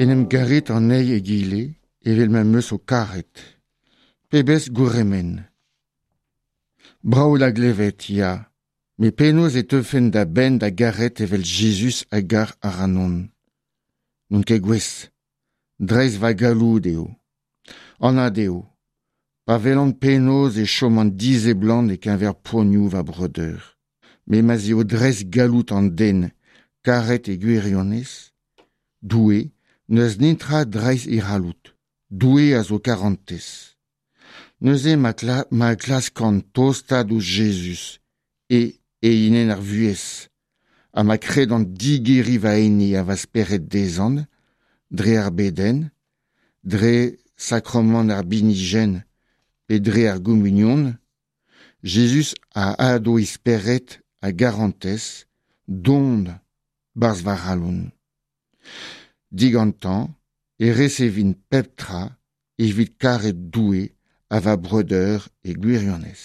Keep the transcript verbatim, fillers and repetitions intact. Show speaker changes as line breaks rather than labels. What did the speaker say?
En em garit an eil egile evel ma 'm eus ho karet. Pebezh gourc'hemenn ! Brav da glevet, ya, met penaos e teufen da benn da garet evel Jezuz a gar ac'hanon ? N'on ket gouest, dreist va galloud eo. Anat eo, pa welan penaos e choman diseblant e-keñver poanioù va breudeur. Met ma'z eo dreist galloud an den karet e gwirionez, Doue n'eus netra dreist e c'halloud. Doue a zo karantez. Neuze ma kla-, ma klaskan tostaat ouzh Jezuz e eienenn ar vuhez, ha ma kredan digeriñ va ene ha va spered dezhañ, dre ar bedenn, dre sakramant ar binijenn pe dre ar gomunion, Jezuz a hado e spered a garantez don 'barzh va c'halon. Digantañ e resevin pep tra evit karet Doue ha va breudeur e gwirionez.